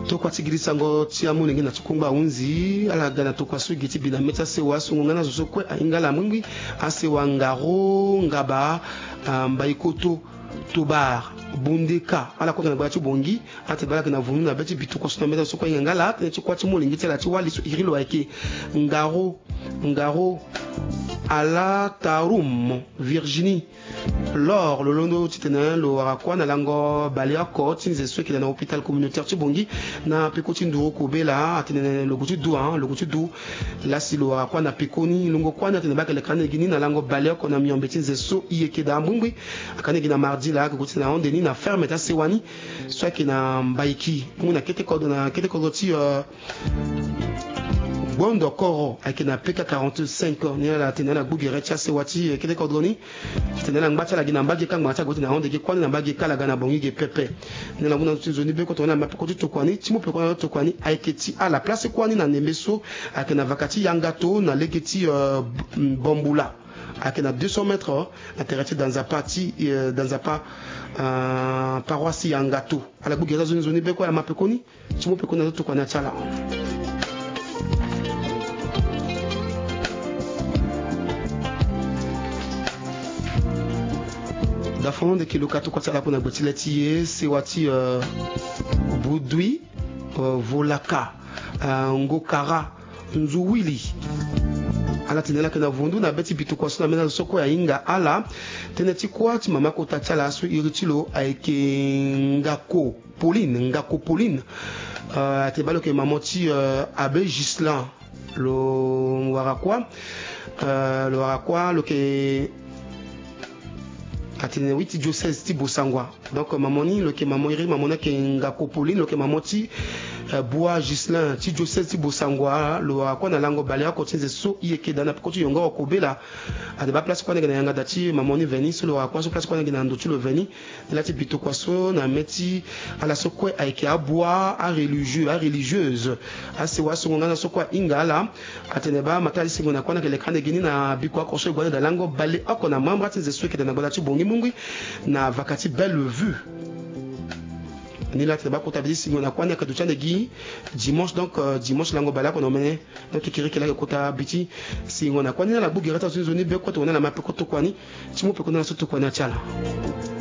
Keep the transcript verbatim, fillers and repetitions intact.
Tokua ti giri sango ti amolenge na ti kungba ahunzi ala ga na tokua so gi ti bi na mê ti asewa so ngongana zo so kue ahinga ala mingbi. Asewa ngaro ngaba, ah, mbaikoto, tobar, bundeka, ala kota na gbala ti bongi. Atene baa ala yeke na vundu na be ti bi tokua so na mê ti azo so kue ahinga nga ala tënë ti kuâ ti molenge ti ala ti wali so iri lo ayeke ngaro ngaro, ala tarum virginie. Lor lo londo titene lo wara kuâ na lango baleoko ti nze so eke daa na hôpital communautaire ti bongi na peko ti nduru kobela atene lo gue ti du, ah, lo gue ti du. Lasi lo wara kuâ na pekoni longo kuâ ni atene baa ake leka ande gi ni na lango baleoko na miombe ti nze so i yeke daa mbongbi. Aka ande gi na mardi laa ake gue ti na hande ni na ferme ti asewa ni so ayeke na mbaiki mbongbi na kete kodro na kete kodro ti, euh, Gbondo koro ayeke na P K quarante-cinq. Ni ala tene ala gbu gere ti asewa ti, eh, kete kodro ni. Tene ala ngba ti ala gi na mbage ka ngbanga ti ala gue ti na hande gi kuâ ni na mbage ka ala ga na bongi ge pepe. Ni ala ngu na nzoni be kota wani ala ma peko ti tokua ni ti mu peko na tokua ni ayeke ti ala place kuâ ni na ndembe so ayeke na vaka ti yangato na lege ti, euh, bambula. Ayeke na deux cents mètres, euh, na tere ti danzapa ti, euh, danzapa, euh, paroisse yangato. Ala gbu gere ti azo ni nzoni be kue ala ma pekoni ti mu pekoni na zo tokua ni atia ala. Dafon ndeki lo ka tokua ti ala kue na gbe ti le ti e sewa ti, euh, budui, euh, volaka, euh, ngokara, nzu wili. Ala tene ala yeke na vundu na be ti bi tokua so na mê ti azo so kue ahinga ala. Tënë ti kuâ ti mama kota ti ala so iri ti lo ayeke ngako Pauline, ngako Pauline. Euh, atene baa lo yeke mama ti, euh, abe Ghislain. Lo wara kuâ, euh, lo wara kuâ lo yeke atene wi ti diocèse ti Bossangoa. Donc mama ni lo yeke mama iri mama ni ayeke ngako Pauline, lo yeke mama ti, euh, Bois Ghislain ti diocèse ti Bossangoa. Lo wara kuâ na lango baleoko ti nze so i yeke daa na peko ti yongoro kobela. Atene baa place kuâ ni ayeke na yanga da ti mama ni veni so lo wara kuâ so place kuâ ni ayeke na ndo ti lo veni. Ni la ti bi tokua so na mê ti ala so kue ayeke abua, areligieux, areligieuses. Asewa so ngongana so kue ahinga ala. Atene baa matali singo na kuâ ni ayeke leka ande gi ni na biko oko so e gue ande da lango baleoko na membres ti nze so eke daa na gbala ti bongi mungui na vaka ti Bellevue. Ni la tene baa kota bi ti singo na kuâ ni ayeke duti ande gi dimanche, donc, euh, dimanche lango baleoko na omene. Donc kiri kiri ayeke kota bi ti singo na kuâ ni. Ni ala gbu gere ti azo ni nzoni be kue tokua ni ala ma peko tokua ni ti mu peko ni ala so tokua ni atia ala.